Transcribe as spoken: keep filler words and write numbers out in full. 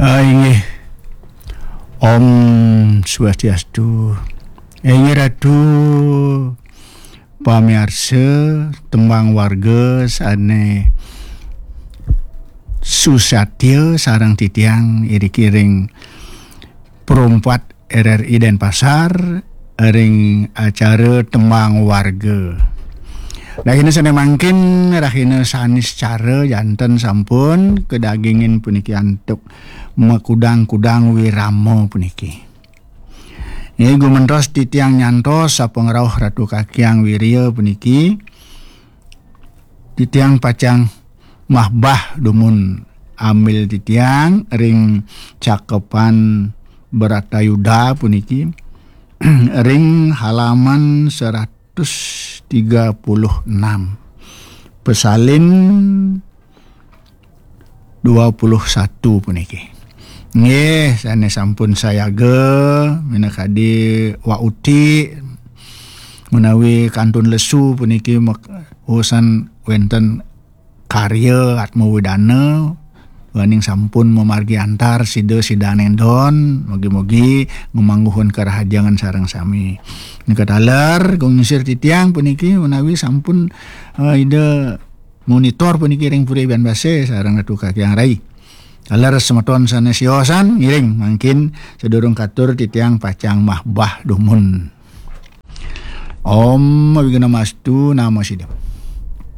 Ah, inggih. Om Swastiastu. Inggih Ratu, pamiarsa, tembang warga sane susatya sareng titiang iriki ring Pro empat R R I Denpasar ring acara tembang warga. Rahina sane mangkin, rahina Saniscara, janten sampun kadagingin puniki antuk makudang-kudang wirama puniki. Nggih, gumentos titiang nyantos sapangrauh Ratu Kakyang Wirya puniki, titiang pacang mahbah dumun ambil titiang ring Cakepan Bratayuda puniki, ring halaman seratus tiga puluh enam, pesalin dua puluh satu puniki. Nggih, sane sampun sayaga, minakadi Wa Uti menawi kantun lesu puniki mek-, usan wenten karya Atma Wedana, duaning sampun mamargi antar sida sidaning don, mugi-mugi ngamangguhun karahajengan sareng sami. Nika taler, kung ngisir titiang puniki menawi sampun, eh, Ida monitor puniki ring Puri Banbasa sareng Ratu Kakyang Rai. Taler semeton sane siosan ngiring mangkin sadurung katur titiang pacang mahbah dumun. Om Awighnamastu Namo Siddham.